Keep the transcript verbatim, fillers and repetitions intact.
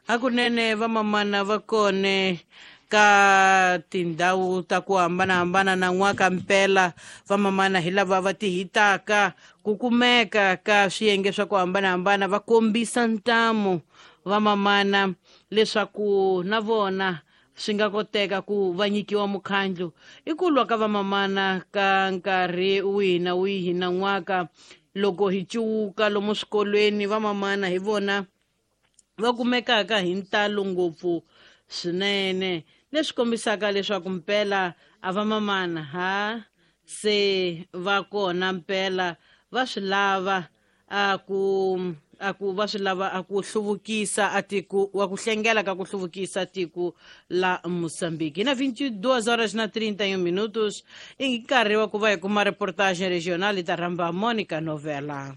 Hakunene vamamana va kone ka tindhawu ta ku hambanahambana na n'waka mpela vamamana hi lava va ti hitaka ku kumeka ka swiyenge swa ku hambanahambana va kombisa ntamu vamamana leswaku na vona swi nga koteka ku va nyikiwa mukhandlu. I ku lwa ka vamamana ka nkarhi wihi na wihi na n'waka loko hi cuwuka lomu swikolweni vamamana hi vona va kumekaka hi ntalo ngopfu swinene, leswi kombisaka leswaku mpela a va mamana ha se va kona mpela va swi lava a ku a ku va swi lava a ku hluvukisa a tiko wa ku hlengela ka ku hluvukisa tiko la Moçambique. Na vinte e duas horas na trinta e um minutos, i nkarhi wa ku va hi kuma reportage regional ta rhamba Monica Novela.